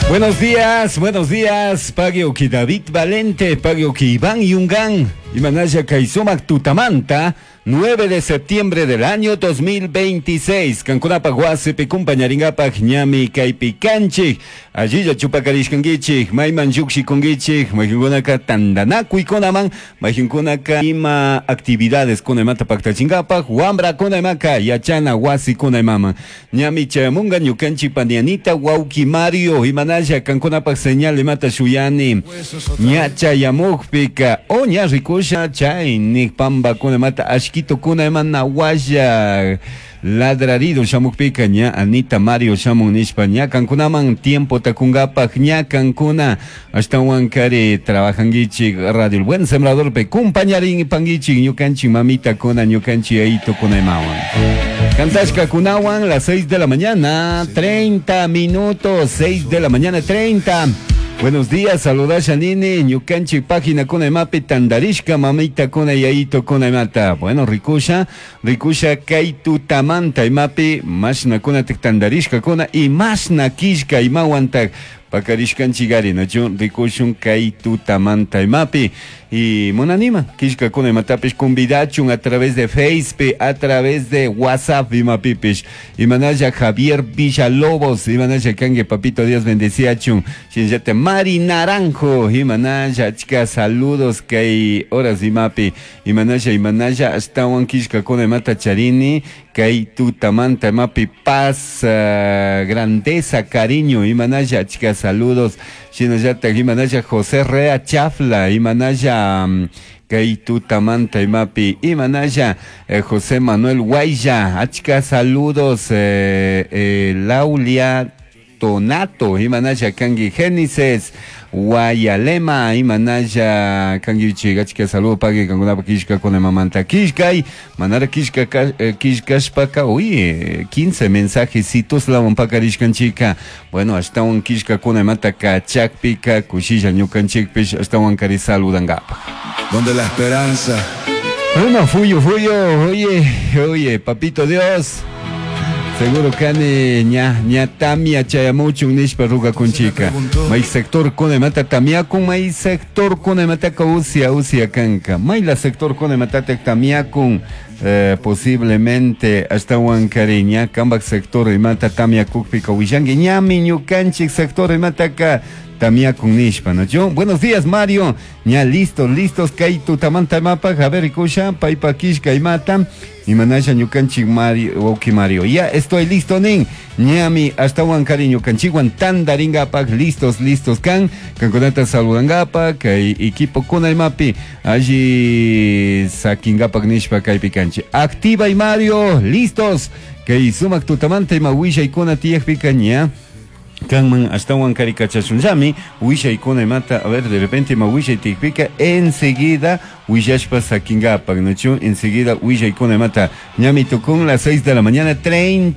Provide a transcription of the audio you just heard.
Buenos días, Pagioki David Valente, Pagioki Iván Yungán, Imanaya Kaisumak Tutamanta, 9 de septiembre del año 2026, Kankunapa Huasipi kumpañaringapak ñami kaypi kanchik, allilla chupakarishkankichik, mayman llukshikunkichik, maykankunaka tandanakuykunaman, maykankunaka ima actividades kunamanta paktachinkapak, wambrakuna imaka yachana wasikuna imaman. Ñami chayamunga ñukanchik panianita wawki Mario, imanalla kankunapak señal imata shuyani, ña chayamukpika, o ña rikusha chay nik pambakuna imata ashkitukuna ima nawalla ladrarido shamukpika ña Anita Mario shamun nishpa ña kankunaman tiempo takungapak ña kankuna ashtawan kari trabajankichik Radio El Buen Sembrador pe kumpañarin pankichik ñukanchik mamita kuna ñukanchik yayito kuna imawan. Kantashka kunawan las 6 de la mañana 30 minutos, 6 de la mañana 30. Buenos días, saludasha nini, ñukanchik página kuna imapi tandarishka mamita kuna yayito kuna imata. Bueno, rikusha, rikusha kay tutamanta imapi mashna kuna tik tandarishka kuna y mashna kishka imawantak pakarishkanchikari, nachu rikushun kay tutamanta imapi. Y munanima, kishka kuna imatapish convidachun a través de Facebook, a través de WhatsApp imapipish. Imanaya Javier Villalobos, imanaya kangue papito Dios bendeciachun. Shinllate Mari Naranjo, imanaya chica saludos kay horas imapi. Imanaya, imanaya ashtawan kishka kuna imata charini, kay tutamanta imapi paz, grandeza, cariño, imanaya chica saludos. Shinallata imanaya José Rea Chafla, imanaya kay tutamanta imapi, imanaya José Manuel Guaya, achka saludos, Laulia Tonato, imanaya kangi Génesis, Guayalema, imanaya kangi achka saludo pagui kankunapa kishka kuna mamanta kishkay, manara kishka kishkashpaka, uy, 15 mensajecitos lawan pakarishkanchika. Bueno, ashtawan kishka kuna imata kachakpika, kushilla ñukanchikpish, ashtawan kari saludangapa. Donde la esperanza. Bueno, fuyo, fuyo, oye, oye, papito Dios. Seguro kani ña, ña tamia chayamuchun nishpa rugakunchika. May sector kuna imata tamiakun, may sector kuna imataka usia, usia kanka. May la sector kuna imata tamiakun, posiblemente ashtawan kari ña kambak sector imata tamiakukpika willanki ñami ñukanchik sector imataka tamiakun nishpa, ¿no? Yo, buenos días, Mario. Ña listos, listos, kay tutamanta imapak, a ver, rikusha, paypa kishka imata. Imanasha ñukanchik Mario, wawki Mario. Ya estoy listo, nin. Ñami ashtawan kari ñukanchikwan tandaringapak, listos, listos kan. Kankunata saludangapak, kay equipo kuna imapi, alli sakingapak nishpa kaypi kanchik. Activa y Mario, listos. Kay sumak tutamanta ima willaykuna tiyakpika ña. Kanman ashtawan kari kachashunllami, willaykuna imata, a ver, de repente ima willay tiyakpika, enseguida willashpa sakingapak, ¿no? Enseguida willaykuna imata, ñami tukun las 6 de la mañana, 30.